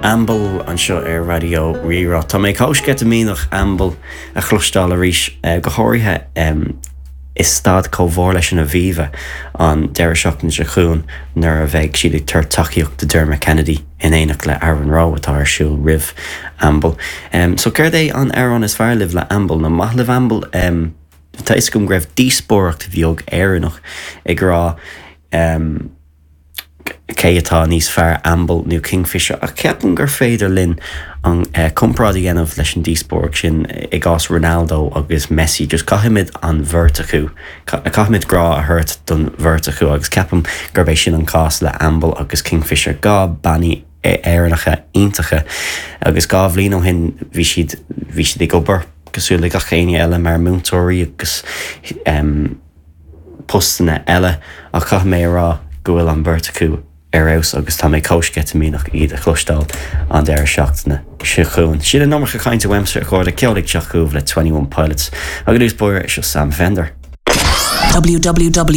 Amble anseo ar Raidió Rí-Rá. Tá mé chomh sceitimíneach Amble a chloisteáil arís, go háirithe i staid chomh mhór leis an Aviva an deireadh seachtaine seo chugainn nuair a bheidh siad ag tabhairt tacaíocht do Dermot Kennedy in éineacht le Aaron Rowe atá ar siúl roimh Amble. So céard é an amhrán is fearr libh le Amble? Nó maith libh Amble? Tá fhios agam go raibh díospóireacht bheag Éireannach ag rá cé atá níos fearr, Amble nó Kingfisher, ach ceapaim gur féidir linn an comparáid a dhéanamh leis an díospóireacht sin i gcás Ronaldo agus Messi, just caithfimid an bheirt acu, caithfimid grá a thabhairt don bheirt acu agus ceapaim gurb é sin an cás le Amble agus Kingfisher, 2 bannaí Éireannacha iontacha agus 2 bhliain ó shin bhí siad, bhí siad ag obair cosúil le gach éinne eile mar múinteoirí agus. postanna eile ach caithfidh mé a rá go bhfuil an bheirt acu ar fheabhas agus tá mé chomh sceitimíneach iad a chloisteáil an deireadh seachtaine seo chugainn. Sin an iomarca cainte uaimse, a chairde, ceol ag teacht chugaibh le 21 Pilots agus i dtús báire, seo Sam Fender. www.rrr.ie.